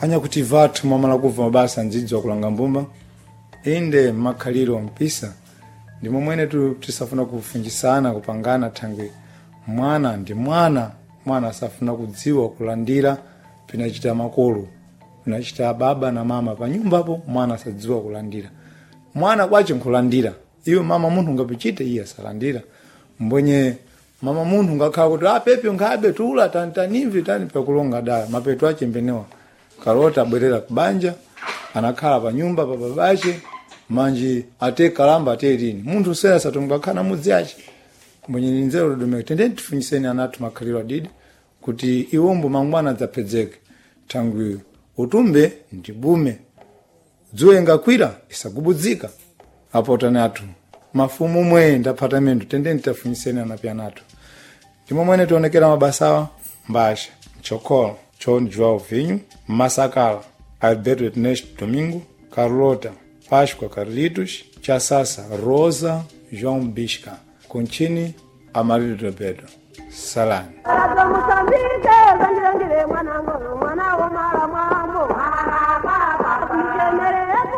Anyakuti vathu mwamala kubva mabasa ndzidzi kulanga mbumba inde makhaliro mpisa ndimo mwene tu tisafuna kufunjisana kupangana thangwi mwana ndi mwana. Mwana asafuna kudziwa kulandira pinachita makolo, pinachita baba na mama panyumbapo. Mwana asadziwa kulandira, mwana kwace nkulandira iwe mama munthu ungapichite iye asalandira. Mbwenye mama munthu ngakhala kuti apepe nkhabe tula tantanimvi tani pakulonga dala mapeto ache mbenewa. Kalota abwerera kubanja, anakhala pa nyumba pa babache manji ate kalamba ate lini munthu sera satongakhala mudzi ache. Mbwenye ni nzeru dodomeka, tendeni tifunyiseni anathu makhaliro adidi kuti iwombo mangwana adzapedzeke thangwi utumbe ndi bume dzuwa ingakwira isagubudzika. Apotani athu mafumu mwe ndaphata mendo, tendeni tafunyiseni anapi anathu. Ndimo mwene tionekera mabasawa mbasha mchokolo John Joao Vinho, Masakala Alberto Ernesto Domingo, Carlota Páscoa Carlitos, Chasasa Rosa João Bisca, Contini Amarildo Pedro. Salame. Moçambique.